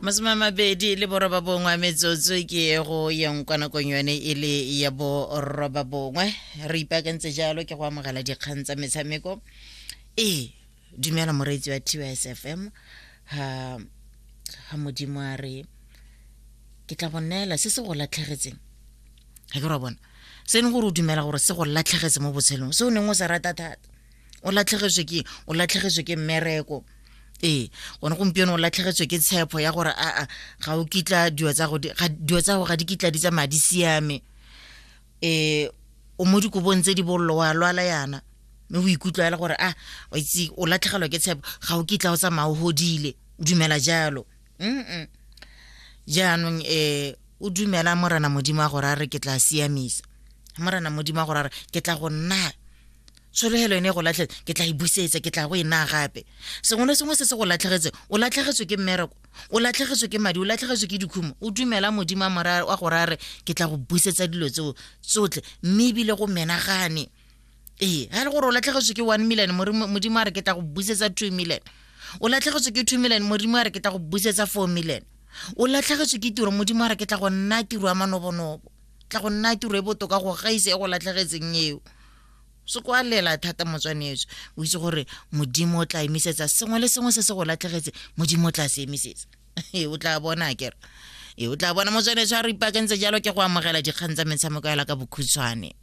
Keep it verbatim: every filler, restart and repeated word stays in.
Masome a mabedi le boroba bongwe a metsotso ke go yeng kwa nakong yone e le ya boroba bongwe. Re ipaakantse jalo ke go amogela dikgang tsa metshameko. Ee, dumela moreetsi wa T S F M. Ha ha Modimo a re ke tla go neela se se go latlhegetseng. Ga ke ra bona se ne gore o dumela gore se go latlhegetse mo botshelong, se o neng o sa rata thata. O latlhegetswe ke o latlhegetswe ke mmereko. Ee, gone gompieno o latlhegetswe ke tshepo ya gore a a ga o kitla dilo tsa go dilo tsa go ga di kitla di tsamaya di siame. Eh, o mo dikobong tse di bollo wa lwala yana, mme o ikutlwa ele gore a o itse o latlhegelwa ke tshepo, ga o kitla o tsamaya o hodile, o dumela jalo. Mm. Jaanong eh o dumela Morena Modimo a gore a re ke tla siamisa. Morena Modimo a gore a re ke tla go nna tshologelo ene e go latlhetse, ke tla e busetsa, ke tla go e naya gape. Sengwe le sengwe se se go latlhegetse, o latlhegetswe ke mmereko, o latlhegetswe ke madi, o latlhegetswe ke dikhumo, o dumela Modimo a gore a re ke tla go busetsa dilo tseo tsotlhe, mme ebile go menagane. Ee, ga e le gore o latlhegetswe ke one million, Modimo a re ke tla go busetsa two million. O latlhegetswe ke two million, Modimo a re ke tla go busetsa four million. O latlhegetswe ke tiro, Modimo a re ke tla go nna tiro ya manobonobo, tla go nna tiro e botoka go gaisa e go latlhegetseng eo. Se kwa lela thata motswanetso, o itse gore Modimo o tla emisetsa sengwe le sengwe se se go latlhegetse, Modimo o tla se emisetsa. O tla bona kere. Ee, o tla bona motswanetso. A re ipaakantse jalo ke go amogela dikgang tsa metshameko ya la ka bokhutshwane.